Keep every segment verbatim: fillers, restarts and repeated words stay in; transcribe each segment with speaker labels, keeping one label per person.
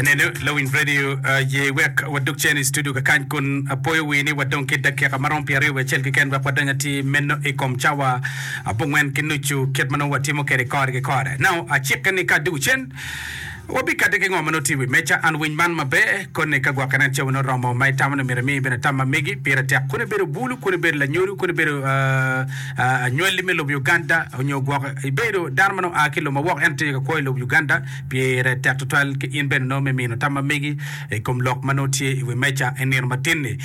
Speaker 1: Neno Lawiny Radio ye wek wadug cen i studio kakany kun apoyo wi ni wadong ki dakika marom pyeraryo wiye acel keken wek wadony atir meno i kom cawa abongwen ki nucu kit ma nongo watimo kwede kore ki kore. Now acikke ni ka adugo cen wabikati ki ngo ma nongo tye i wi meja. An winy man maber koni ka gwokke nen cawa nongo oromo ma itamo ni myero imi bene tam ma megi pire tek kun ibedo bulu kun ibedo lanyodo kun ibedo anywali me lobo Uganda onyo gwok ibedo dano ma nongo oa ki i lobo ma woko ento tye ka kwo i lobo Uganda. Pire tek tutwal ki in bene nongo me mino tam ma megi i kom lok ma nongo tye i wi meja i nino matin-ni.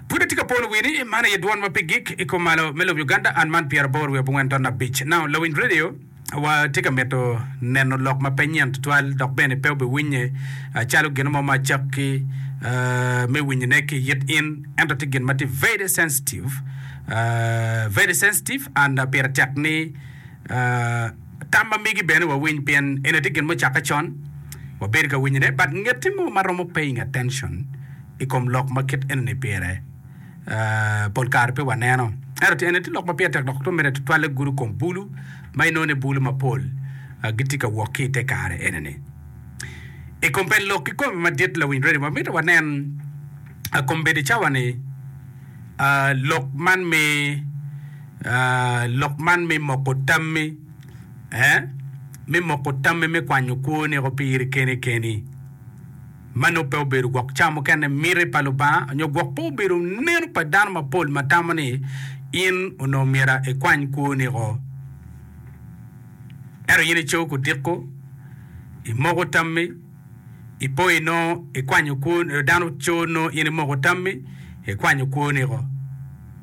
Speaker 1: Pud atye ka polo wi ni man aye dwon ma pe gik i kom malo me lobo Uganda an man pyeraboro wiye abongwen ton abic. Now lawiny radio wa tye ka mito neno lok ma pe nyen tutwal dok bene pe obiwinye calo gin mo ma acakki me winyone ki yit in ento tye gin ma tye very sensitive very sensitive and pire tek ni Tam ma megi bene wawiny pien eni tye gin mucakke con, wabedo ka winyone but ngeti mo ma romo paying attention i kom lok ma kit enoni pire pol kare pe waneno. Ento tye eni tye lok ma pire tek dok mere tutwalle gudo kom bulu ma inongo ni bulu mapol gitye ka wok ki i te kare enoni. I kom pen lok kikome madit lawiny radio wamito wanen kombeddi cawa ni lok man me Lok man me moko tammi, me moko tammi me kwanyo kwoniko piri keni keni, ma nongo pe obedo gwok ca mukene miti pa Lubanga nyo gwok pe obedo neno pa dano mapol ma tamo ni in onongo myero ikwany kwoniko. Ento in ico kudiko, imoko tammi. Ipo inongo ikwanyo kwo dano co nongo in imoko tammi ikwanyo kwoni oko.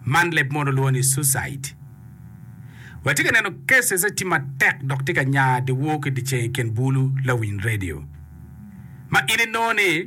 Speaker 1: Man leb mono lwongo ni suicide. Watye ka neno cases tye matek dok tye ka nya dyewor ki dyeceng i kin bulu lawiny radio ma in inongo ni.